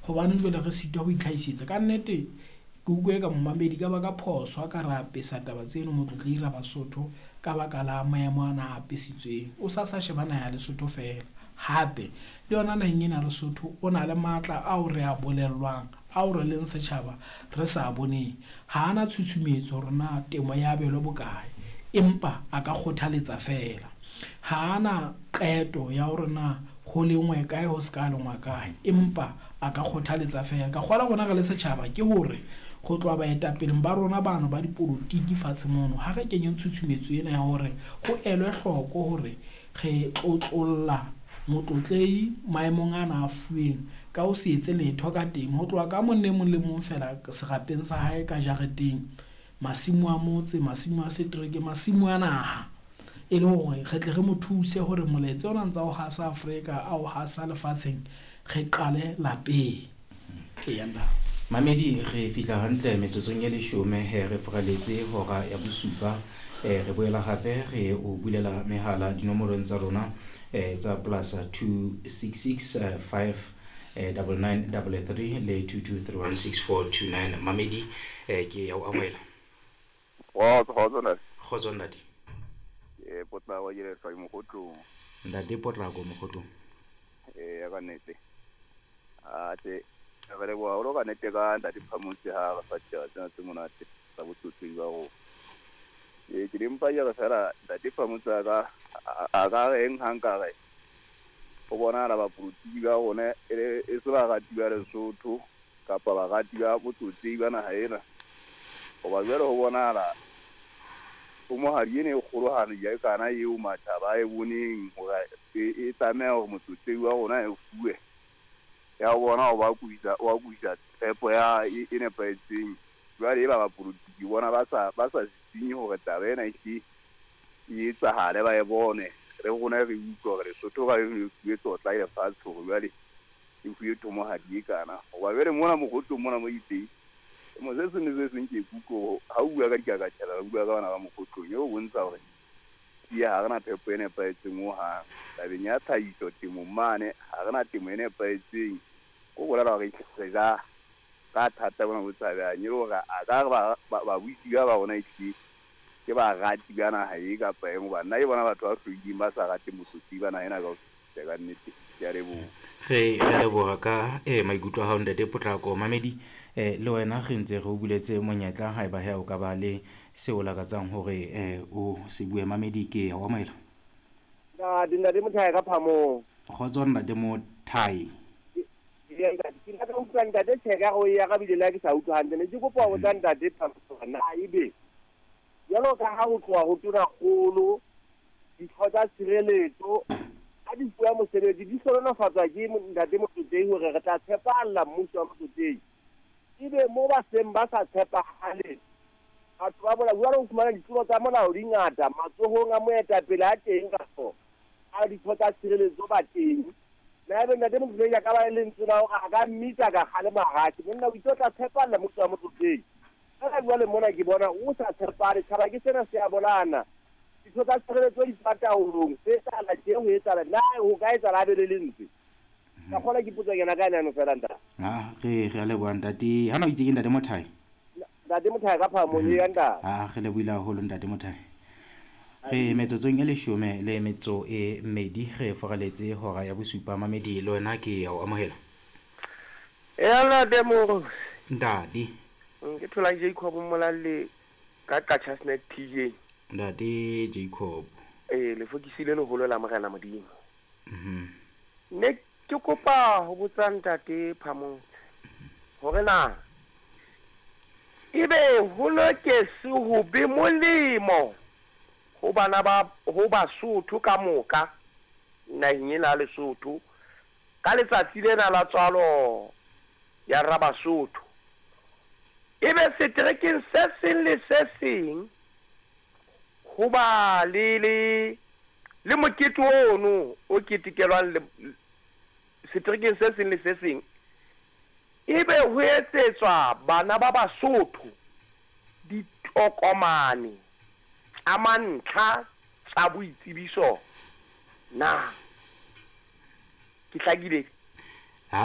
Hobaneng jwale re sitwa ho itlhahisetsa? Kannete ke utlwe eka momamedi ka ba ka phoso ha ka re apesa taba tseno Motlotlehi Rabasotho ka baka la maemo ana a apesitsweng. O sa sa sheba naha ya Lesotho feela. Hape le yona naheng ena ya Lesotho o na le matla ao re a bolellwang, ao re leng setjhaba re sa boneng. Ha ana tshutshumetso hore na temo ya abelwe bokae, empa a ka kgothaletsa feela. Ha ana qeto ya hore na ho lengwe kae ho se ka lengwa kae, empa a ka kgothaletsa feela. Ka kgola rona re le setjhaba ke hore go tloha baetapeleng ba rona bano ba dipolotiki fatshe mono, ha re kenyeng tshutshumetso ena ya hore ho elwe hloko hore re tlotlolla motlotlehi maemong ana a fuweng ka ho se etse letho ka temo. Ho tloha ka mong le mong le mong feela serapeng sa hae ka jareteng, masimo a motse, masimo a setereke, masimo a naha, e le hore re tle re mo thuse hore molaetsa ona ntsa o hasa Afrika, a o hasa lefatsheng, re qale lapeng. Eya ntate. Mamedi, re fihla hantle metsotsong e leshome he re furaletse hora ya bosupa. Re boela hape re o bulela mehala dinomorong tsa rona tsa plus 266 5 99 33 le 22316429. Mamedi, ke ya o amohela. Kgotso, kgotso ntate. Kgotso ntate. Ke Potlako ke lehlwa Mokgotlong. Ntate Potlako Mokgotlong. Ya ka nnete. Ate re leboha haholo ka nnete ka ntate Phamotse ha re fa ditaba tsena tse monate tsa botsotsi ba rona. Ke di mpa ke re fela ntate Phamotse a ka reng ha nka re ho bonahala bapolotiki ba rona e se barati ba Lesotho kapa barati ba botsotsi ba naha ena. Hoba jwale ho bonahala thomohadi ena e kgolohadi ya kana eo matjhaba a e boneng hore e tlameha hore motsotsi wa rona e fuwe. Ya ho bona o ba kuisa, o kuisa tshepo ya e nepahetseng. Jwale e ba bapolotiki bona ba sa sisinye hore taba ena e hle e etsahale, ba e bone. Re rona re utlwe hore Lesotho ka e fuwe tlotla e lefatshe hore jwale e fuwe thomohadi e kana. Hoba jwale mona Mokgotlong mona mo iteng, mo se seng le se seng ke kutlwe ha o bua ka dikakatjhela, o bua ka bana ba Mokgotlong, e o bontsha hore ke ha rena phepo e nepahetseng hohang. Tabeng ya tlhahiso temong mane, ha rena temo e nepahetseng. Ho bolela hore re ja ka thata bona bo tshabehang, e le hore a ka re babusi ba rona ehlile ke barati ba naha e kapa eng, hoba nna ke bona batho ba hloileng ba sa rateng botsotsi ba naha ena ka ho fetisisa ka nnete. Ke a leboha. Re a leboha ka maikutlo a hao ntate Potlako. Mamedi, le wena re ntse re o buletse monyetla haeba he o ka ba le seo o lakatsang hore o se bue. Mamedi, ke o amohela. Ntate, ntate Mothae ka Phamong. Kgotso ntate Mothae. Ke ka utlwa ntate Tjheka o ya ka bile le ke sa utlwa hantle. Ne ke kopa ho botsa ntate Phamong na ebe jwalo ka ha ho tloha ho tonakgolo ditho tsa tshireletso ha di fuwa mosebetsi di hlohonolofatswa ke ntate Motlotlehi hore re tla tshepahalla mmuso wa Motlotlehi. Ebe mo ba seng ba sa tshepahale batho ba bola jwalo ho fumana ditlolo tsa molao di ngata matsohong a moetapele a teng kapo a ditho tsa tshireletso ba teng. Na ebe ntate Motlotlehi a ka ba le lentswe la hore a ka mmitsa ka kgalema hatjhe monna o itse o tla tshepahalla mmuso wa Motlotlehi. Feela jwale mona ke bona o sa tshepahale, tjhaba ke sena se a bolana. Ditho tsa tshireletso di tswa taolong, se etsahala tje ho etsahala na ho ka etsahala a be le lentswe. Ka kgola ke potso kena ka nano fela ntate. Ah, re a leboha ntate. Hana o itse ke ntate Mothae? Ntate Mothae ka Phamong e ya ntate. Ah, re lebohile haholo ntate Mothae. Re metsotsong e leshome le metso e mmedi re foraletse hora ya bosupa. Mamedi, le wena ke ya o amohela. Ya ntate Moro. Ntate. Ke thola Jacob Molalle ka Qacha's Nek TJ. Ntate Jacob. Lefokisi le leholo la Morena Modimo. Ne ke kopa ho botsa ntate Phamotse hore na ebe ho loketse ho be molemo ho bana ba ho Basotho ka moka naheng ena ya Lesotho ka letsatsi lena la tswalo ya Rabasotho. Ebe seterekeng se seng le se seng ho ba le le le mokete ono o ketekelwang le seterekeng se seng le se seng, ebe ho etsetswa bana ba Basotho ditokomane tsa mantlha tsa boitsebiso na? Ke hlakile?